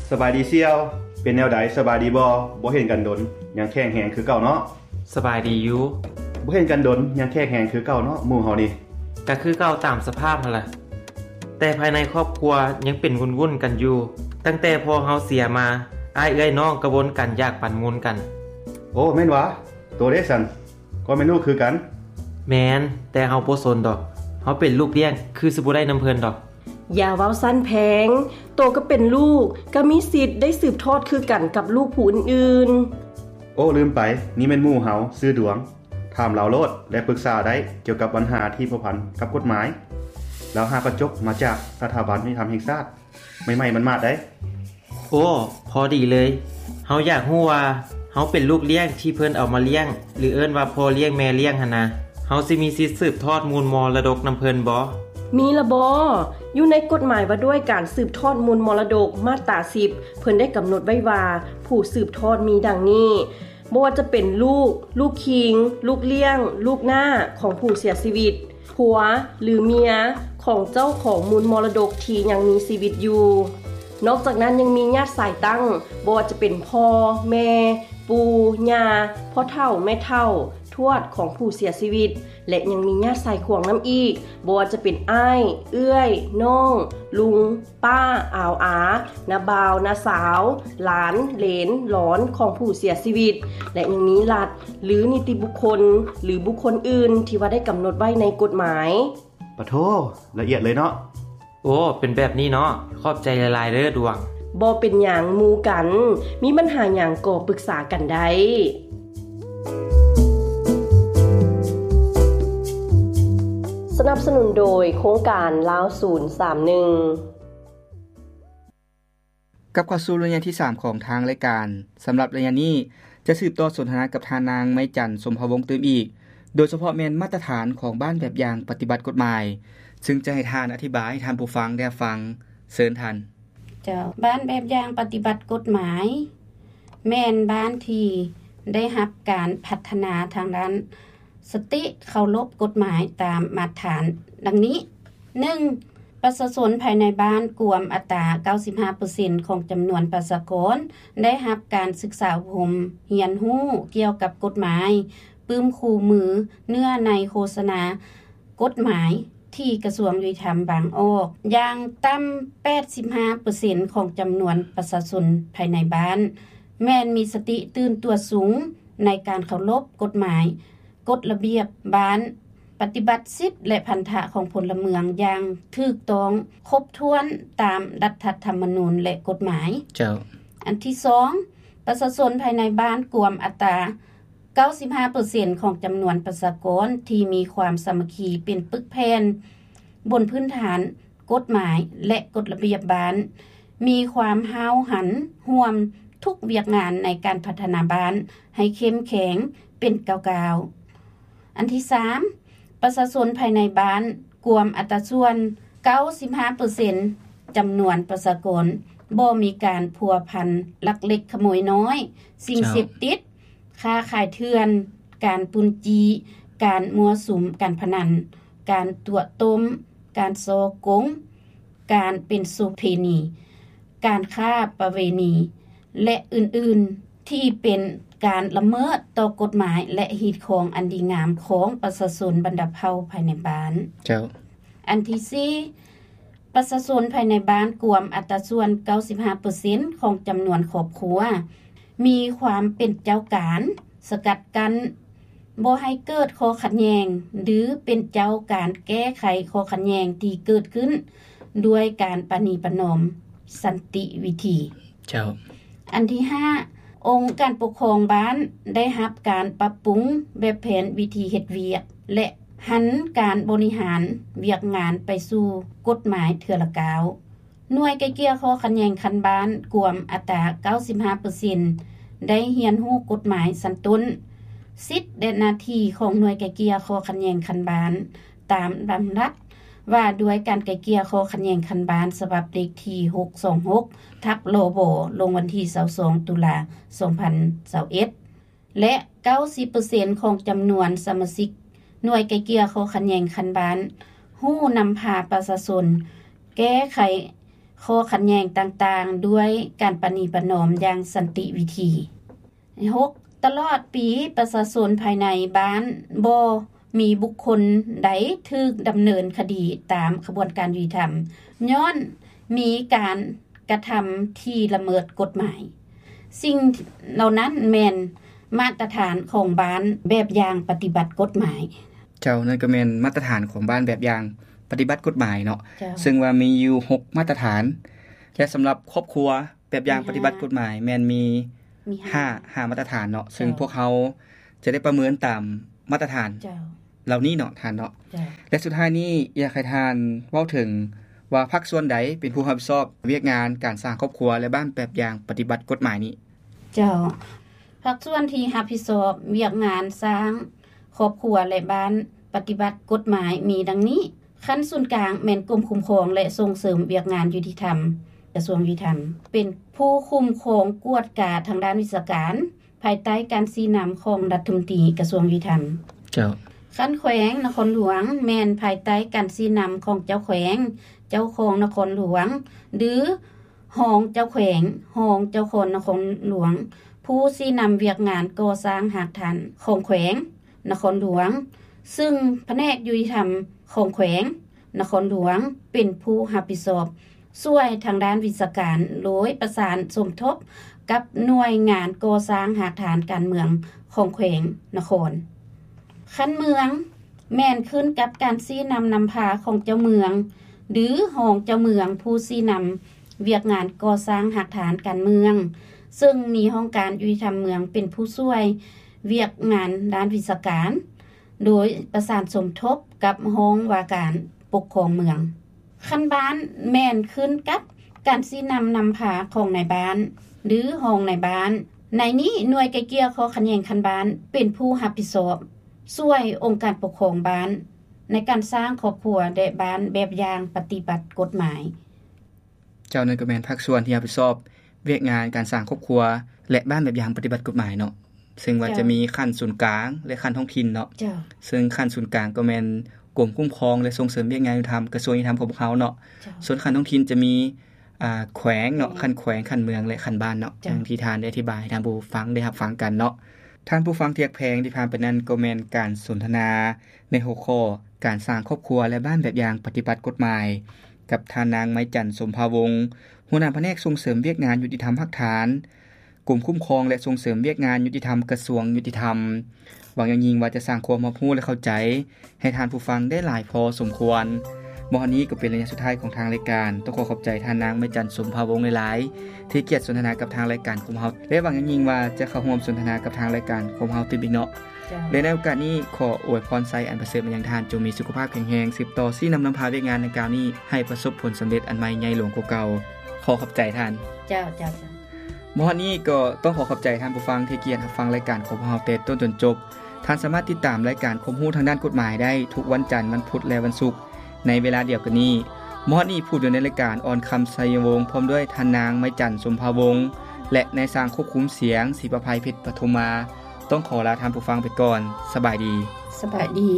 ສະບາຍດີສ່ຽວ. ເປັນແນວໃດ ສະບາຍດີບໍ່? ບໍ່ເຫັນກັນດົນ ຍັງແຂງແຮງຄືເກົ່າເນາະ? ສະບາຍດີຢູ່. ບໍ່ເຫັນກັນດົນ ຍັງແຂງແຮງຄືເກົ່າເນາະ ໝູ່ເຮົານີ້. ກະຄືເກົ່າຕາມສະພາບຫັ້ນລະ. ແຕ່ພາຍໃນຄອບຄົວຍັງເປັນວຸ່ນໆກັນຢູ່. ຕັ້ງແຕ່ພໍ່ເຮົາເສຍມາ, ອ້າຍເອື້ອຍນ້ອງກະວົນກັນຢາກປັນມູນກັນ. ໂອ້ ແມ່ນຫວາ? ໂຕເດຊັ້ນ? ກໍແມ່ນລູກຄືກັນ. ແມ່ນ, ແຕ່ເຮົາບໍ່ສົນດອກ. ເຮົາເປັນລູກລ້ຽງ ຄືຊິບໍ່ໄດ້ນຳເພິ່ນດອກ. ຢ່າເວົ້າຊັ້ນແພງ. ໂຕກໍເປັນລູກ, ກໍມີສິດໄດ້ສືບທອດຄືກັນກັບລູກຜູ້ອື່ນໆ. ໂອ້ ລືມໄປ, ນີ້ແມ່ນໝູ່ເຮົາ, ຊື່ດວງ. ຖາມລາວໂລດ ແລະ ປຶກສາໄດ້ກ່ຽວກັບບັນຫາທີ່ພົວພັນກັບກົດໝາຍ. ລາວຫາກະຈົບມາຈາກສະຖາບັນຍຸຕິທຳແຫ່ງຊາດ ໃໝ່ໆໝາດໆໄດ໋. ໂອ້ ພໍດີເລີຍ. ເຮົາຢາກຮູ້ວ່າເຮົາເປັນລູກລ້ຽງທີ່ເພິ່ນເອົາມາລ້ຽງ ຫຼື ເອີ້ນວ່າພໍ່ລ້ຽງແມ່ລ້ຽງຫັ້ນນະ, ເຮົາຊິມີສິດສືບທອດມູນມໍລະດົກນຳເພິ່ນບໍ່? ມີລະບໍ? ຢູ່ໃນກົດໝາຍວ່າດ້ວຍການສືບທອດມູນມໍລະດົກ ມາດຕາສິບ ເພິ່ນໄດ້ກຳນົດໄວ້ວ່າ ຜູ້ສືບທອດມີດັ່ງນີ້. ບໍ່ວ່າຈະເປັນລູກ, ລູກຄີງ, ລູກລ້ຽງ, ລູກນ້າຂອງຜູ້ເສຍຊີວິດ, ຜົວ ຫຼື ເມຍຂອງເຈົ້າຂອງມູນມໍລະດົກທີ່ຍັງມີຊີວິດຢູ່. ນອກຈາກນັ້ນຍັງມີຍາດສາຍຕັ້ງ, ບໍ່ວ່າຈະເປັນພໍ່, ແມ່, ປູ່, ຍ່າ, ພໍ່ເຖົ້າ, ແມ່ເຖົ້າ, ທວດຂອງຜູ້ເສຍຊີວິດ ແລະ ຍັງມີຍາດສາຍຂວາງນຳອີກ, ບໍ່ວ່າຈະເປັນອ້າຍ, ເອື້ອຍ, ນ້ອງ, ລຸງ, ປ້າ, ອາວອາ, ນ້າບ່າວ, ນ້າສາວ, ຫຼານ, ເຫຼນ, ຫຼອນຂອງຜູ້ເສຍຊີວິດ ແລະ ຍັງມີລັດ ຫຼື ນິຕິບຸກຄົນ ຫຼື ບຸກຄົນອື່ນທີ່ວ່າໄດ້ກຳນົດໄວ້ໃນກົດໝາຍ. ປະໂທ, ລະອຽດເລີຍເນາະ. ໂອ້ ເປັນແບບນີ້ເນາະ. ຂອບໃຈຫຼາຍໆເດີດວງ. ບໍ່ເປັນຫຍັງ, ໝູ່ກັນ ມີບັນຫາຫຍັງກໍປຶກສາກັນໄດ້. ສະໜັບສະໜູນໂດຍໂຄງການລາວສູນສາມໜຶ່ງ. ກັບເຂົ້າສູ່ໄລຍະທີສາມຂອງທາງລາຍການ. ສຳລັບໄລຍະນີ້ ຈະສືບຕໍ່ສົນທະນາກັບທ່ານນາງ ໄມຈັນ ສົມພະວົງ ຕື່ມອີກ, ໂດຍສະເພາະແມ່ນມາດຕະຖານຂອງບ້ານແບບຢ່າງປະຕິບັດກົດໝາຍ, ຊຶ່ງຈະໃຫ້ທ່ານອະທິບາຍໃຫ້ທ່ານຜູ້ຟັງໄດ້ຮັບຟັງ. ເຊີນທ່ານ. ເຈົ້າ, ບ້ານແບບຢ່າງປະຕິບັດກົດໝາຍ ແມ່ນບ້ານທີ່ໄດ້ຮັບການພັດທະນາທາງດ້ານ ສະຕິເຄົາລົບກົດໝາຍຕາມມາດຖານດັ່ງນີ້: ໜຶ່ງ, ປະຊາຊົນພາຍໃນບ້ານກວມອັດຕາເກົ້າສິບຫ້າເປີເຊັນຂອງຈຳນວນປະຊາກອນ ໄດ້ຮັບການສຶກສາອົບຮົມຮຽນຮູ້ກ່ຽວກັບກົດໝາຍ, ປຶ້ມຄູ່ມືເນື້ອໃນໂຄສະນາກົດໝາຍທີ່ກະຊວງຍຸຕິທຳວາງອອກ. ຢ່າງຕ່ຳແປດສິບຫ້າເປີເຊັນຂອງຈຳນວນປະຊາຊົນພາຍໃນບ້ານ ແມ່ນມີສະຕິຕື່ນຕົວສູງໃນການເຄົາລົບກົດໝາຍ, ກົດລະບຽບບ້ານ, ປະຕິບັດສິດ ແລະ ພັນທະຂອງພົນລະເມືອງຢ່າງຖືກຕ້ອງຄົບຖ້ວນຕາມລັດຖະທຳມະນູນ ແລະ ກົດໝາຍ. ເຈົ້າ. ອັນທີສອງ, ປະຊາຊົນພາຍໃນບ້ານກວມອັດຕາເກົ້າສິບຫ້າເປີເຊັນຂອງຈຳນວນປະຊາກອນທີ່ມີຄວາມສາມັກຄີເປັນປຶກແຜ່ນ, ບົນພື້ນຖານ ກົດໝາຍ ແລະ ກົດລະບຽບບ້ານ, ມີຄວາມຫ້າວຫັນຮ່ວມທຸກວຽກງານໃນການພັດທະນາບ້ານໃຫ້ເຂັ້ມແຂງເປັນກ້າວໆ. ອັນທີສາມ, ປະຊາຊົນພາຍໃນບ້ານກວມອັດຕາສ່ວນເກົ້າສິບຫ້າເປີເຊັນຈຳນວນປະຊາກອນ ບໍ່ມີການພົວພັນລັກເລັກຂະໂມຍນ້ອຍ, ສິ່ງເສບຕິດ, ເຈົ້າ. ຄ້າຂາຍເຖື່ອນ, ການປຸ້ນຈີ້, ການມົ້ວສຸມການພະນັນ, ການຕົວະຕົ້ມ, ການສໍ້ໂກງ, ການເປັນໂສເພນີ, ການຄ້າປະເວນີ ແລະ ອື່ນໆ ທີ່ເປັນການລະເມີດຕໍ່ກົດໝາຍ ແລະ ຮີດຄອງອັນດີງາມຂອງປະຊາຊົນບັນດາເຜົ່າພາຍໃນບ້ານ. ເຈົ້າ. ອັນທີສີ່, ປະຊາຊົນພາຍໃນບ້ານກວມອັດຕາສ່ວນເກົ້າສິບຫ້າເປີເຊັນຂອງຈຳນວນຄອບຄົວ ມີຄວາມເປັນເຈົ້າການສະກັດກັ້ນ ບໍ່ໃຫ້ເກີດຂໍ້ຂັດແຍ່ງ ຫຼື ເປັນເຈົ້າການແກ້ໄຂຂໍ້ຂັດແຍ່ງທີ່ເກີດຂຶ້ນດ້ວຍການປະນີປະນອມສັນຕິວິທີ. ເຈົ້າ. ອັນທີຫ້າ, ອົງການປົກຄອງບ້ານໄດ້ຮັບການປັບປຸງແບບແຜນວິທີເຮັດວຽກ ແລະ ຫັນການບໍລິຫານວຽກງານໄປສູ່ກົດໝາຍເທື່ອລະກ້າວ. ໜ່ວຍໄກ່ເກ່ຍຂໍ້ຂັດແຍ່ງຂັ້ນບ້ານກວມອັດຕາເກົ້າສິບຫ້າເປີເຊັນ ໄດ້ຮຽນຮູ້ກົດໝາຍຊັ້ນຕົ້ນ, ສິດ ແລະ ໜ້າທີ່ຂອງໜ່ວຍໄກ່ເກ່ຍຂໍ້ຂັດແຍ່ງຂັ້ນບ້ານ ຕາມດຳລັດວ່າດ້ວຍການໄກ່ເກ່ຍຂໍ້ຂັດແຍ່ງຂັ້ນບ້ານ ສະບັບເລກທີຫົກສອງຫົກ ທັບ ລບ ລົງວັນທີຊາວສອງ ຕຸລາ ສອງພັນຊາວເອັດ ແລະ ເກົ້າສິບເປີເຊັນຂອງຈຳນວນສະມາຊິກໜ່ວຍໄກ່ເກ່ຍຂໍ້ຂັດແຍ່ງຂັ້ນບ້ານ ຮູ້ນຳພາປະຊາຊົນແກ້ໄຂ ຂໍ້ຂັດແຍ່ງຕ່າງໆ ດ້ວຍການປະນີປະນອມຢ່າງສັນຕິວິທີ. ຫົກ ຕະຫຼອດປີ ປະຊາຊົນພາຍໃນບ້ານບໍ່ມີບຸກຄົນໃດຖືກດຳເນີນຄະດີຕາມຂະບວນການຍຸຕິທຳ ຍ້ອນມີການກະທຳທີ່ລະເມີດກົດໝາຍ. ສິ່ງເຫຼົ່ານັ້ນແມ່ນມາດຕະຖານຂອງບ້ານແບບຢ່າງປະຕິບັດກົດໝາຍ. ເຈົ້າ, ນັ້ນກໍແມ່ນມາດຕະຖານຂອງບ້ານແບບຢ່າງປະຕິບັດກົດໝາຍເນາະ. ເຈົ້າ. ເຊິ່ງວ່າມີຢູ່ຫົກມາດຕະຖານ ແລະ ສຳລັບຄອບຄົວແບບຢ່າງປະຕິບັດກົດໝາຍແມ່ນມີ ມີຫ້າ ຫ້າ ຫ້າມາດຕະຖານເນາະ. ເຈົ້າ. ເຊິ່ງພວກເຮົາຈະໄດ້ປະເມີນຕາມມາດຕະຖານ ເຈົ້າ ເຫຼົ່ານີ້ເນາະທ່ານເນາະ. ເຈົ້າ. ແລະ ສຸດທ້າຍນີ້ ຢາກໃຫ້ທ່ານເວົ້າເຖິງວ່າພາກສ່ວນໃດເປັນຜູ້ຮັບຜິດຊອບວຽກງານການສ້າງຄອບຄົວ ແລະ ບ້ານແບບຢ່າງປະຕິບັດກົດໝາຍນີ້? ເຈົ້າ, ພາກສ່ວນທີ່ຮັບຜິດຊອບວຽກງານສ້າງຄອບຄົວ ແລະ ບ້ານປະຕິບັດກົດໝາຍມີດັ່ງນີ້. ຂັ້ນສູນກາງແມ່ນກົມຄຸ້ມຄອງ ແລະ ສົ່ງເສີມວຽກງານຍຸຕິທຳ ກະຊວງຍຸຕິທຳ ເປັນຜູ້ຄຸ້ມຄອງກວດກາທາງດ້ານວິຊາການ ພາຍໃຕ້ການຊີ້ນຳຂອງລັດຖະມົນຕີກະຊວງຍຸຕິທຳ. ເຈົ້າ. ຂັ້ນແຂວງນະຄອນຫຼວງແມ່ນພາຍໃຕ້ການຊີ້ນຳຂອງເຈົ້າແຂວງ, ເຈົ້າຄອງນະຄອນຫຼວງ ຫຼື ຮອງເຈົ້າແຂວງ, ຮອງເຈົ້າຄອງນະຄອນຫຼວງ, ຜູ້ຊີ້ນຳວຽກງານກໍ່ສ້າງຮາກຖານຂອງແຂວງນະຄອນຫຼວງ, ຊຶ່ງພະແນກຍຸຕິທຳຂອງແຂວງນະຄອນຫຼວງເປັນຜູ້ຮັບຜິດຊອບ ຊ່ວຍທາງດ້ານວິຊາການ ໂດຍປະສານສົມທົບກັບໜ່ວຍງານກໍ່ສ້າງຮາກຖານການເມືອງຂອງແຂວງນະຄອນ. ຂັ້ນເມືອງແມ່ນຂຶ້ນກັບການຊີ້ນຳນຳພາຂອງເຈົ້າເມືອງ ຫຼື ຮອງເຈົ້າເມືອງ ຜູ້ຊີ້ນຳວຽກງານກໍ່ສ້າງຮາກຖານການເມືອງ, ເຊິ່ງມີຫ້ອງການຍຸຕິທຳເມືອງເປັນຜູ້ຊ່ວຍວຽກງານດ້ານວິຊາການ ໂດຍປະສານສົມທົບກັບຫ້ອງວ່າການປົກຄອງເມືອງ. ຂັ້ນບ້ານແມ່ນຂຶ້ນກັບການຊີ້ນຳນຳພາຂອງນາຍບ້ານ ຫຼື ຮອງນາຍບ້ານ. ໃນນີ້ໜ່ວຍໄກ່ເກ່ຍຂໍ້ຂັດແຍ່ງຂັ້ນບ້ານເປັນຜູ້ຮັບຜິດຊອບ ຊ່ວຍອົງການປົກຄອງບ້ານໃນການສ້າງຄອບຄົວ ແລະ ບ້ານແບບຢ່າງປະຕິບັດກົດໝາຍ. ເຈົ້າ, ນັ້ນກໍແມ່ນພາກສ່ວນທີ່ຮັບຜິດຊອບວຽກງານການສ້າງຄອບຄົວ ແລະ ບ້ານແບບຢ່າງປະຕິບັດກົດໝາຍເນາະ. ເຊິ່ງວ່າ ເຈົ້າ ຈະມີຂັ້ນສູນກາງ ແລະ ຂັ້ນທ້ອງຖິ່ນເນາະ. ເຈົ້າ. ເຊິ່ງຂັ້ນສູນກາງກໍແມ່ນກົມຄຸ້ມຄອງ ແລະ ສົ່ງເສີມວຽກງານຍຸຕິທຳ ກະຊວງຍຸຕິທຳຂອງພວກເຮົາເນາະ. ເຈົ້າ. ສ່ວນຂັ້ນທ້ອງຖິ່ນຈະມີ ອ່າ ແຂວງເນາະ, ແຂວງ ຂັ້ນແຂວງ, ຂັ້ນເມືອງ ແລະ ຂັ້ນບ້ານເນາະ. ເຈົ້າ. ດັ່ງທີ່ທ່ານໄດ້ອະທິບາຍໃຫ້ທ່ານຜູ້ຟັງໄດ້ຮັບຟັງກັນເນາະ. ທ່ານຜູ້ຟັງທີ່ຮັກແພງ, ທີ່ຜ່ານໄປນັ້ນກໍແມ່ນການສົນທະນາໃນຫົວຂໍ້ການສ້າງຄອບຄົວ ແລະ ບ້ານແບບຢ່າງປະຕິບັດກົດໝາຍ ກັບທ່ານນາງ ໄມຈັນ ສົມພາວົງ ຫົວໜ້າພະແນກສົ່ງເສີມວຽກງານຍຸຕິທຳຮາກຖານ ກົມຄຸ້ມຄອງ ແລະ ສົ່ງເສີມວຽກງານຍຸຕິທຳ ກະຊວງຍຸຕິທຳ. ຫວັງຢ່າງຍິ່ງວ່າຈະສ້າງຄວາມຮັບຮູ້ ແລະ ເຂົ້າໃຈໃຫ້ທ່ານຜູ້ຟັງໄດ້ຫຼາຍພໍສົມຄວນ. ມາຮອດນີ້ກໍເປັນໄລຍະສຸດທ້າຍຂອງທາງລາຍການ. ຕ້ອງຂໍຂອບໃຈທ່ານນາງ ໄມຈັນ ສົມພາວົງ ຫຼາຍໆ ທີ່ໃຫ້ກຽດສົນທະນາກັບທາງລາຍການຂອງເຮົາ ແລະ ຫວັງຢ່າງຍິ່ງວ່າຈະເຂົ້າຮ່ວມສົນທະນາກັບທາງລາຍການຂອງເຮົາຕື່ມອີກເນາະ. ເຈົ້າ. ແລະ ໃນໂອກາດນີ້ ຂໍອວຍພອນໄຊອັນປະເສີດມາຍັງທ່ານ, ຈົ່ງມີສຸຂະພາບແຂງແຮງ, ສືບຕໍ່ຊີ້ນຳນຳພາວຽກງານດັ່ງກ່າວນີ້ໃຫ້ປະສົບຜົນສຳເລັດອັນໃໝ່ໃຫຍ່ຫຼວງກວ່າເກົ່າ. ຂໍຂອບໃຈທ່ານ. ເຈົ້າ, ເຈົ້າ, ເຈົ້າ. ມາຮອດນີ້ກໍຕ້ອງຂໍຂອບໃຈທ່ານຜູ້ຟັງທີ່ໃຫ້ກຽດຮັບຟັງລາຍການຂອງພວກເຮົາແຕ່ຕົ້ນຈົນຈົບ. ທ່ານສາມາດຕິດຕາມລາຍການຄວາມຮູ້ທາງດ້ານກົດໝາຍໄດ້ທຸກວັນຈັນ, ວັນພຸດ ແລະ ວັນສຸກ ໃນເວລາດຽວກັນນີ້. ມາຮອດນີ້ຜູ້ດຳເນີນລາຍການ ອອນຄຳ ໄຊຍະວົງ ພ້ອມດ້ວຍທ່ານນາງ ໄມຈັນ ສົມພາວົງ ແລະ ນາຍຊ່າງຄວບຄຸມສຽງ ສີປະໄພ ເພັດປະທຸມມາ ຕ້ອງຂໍລາທ່ານຜູ້ຟັງໄປກ່ອນ. ສະບາຍດີ. ສະບາຍດີ.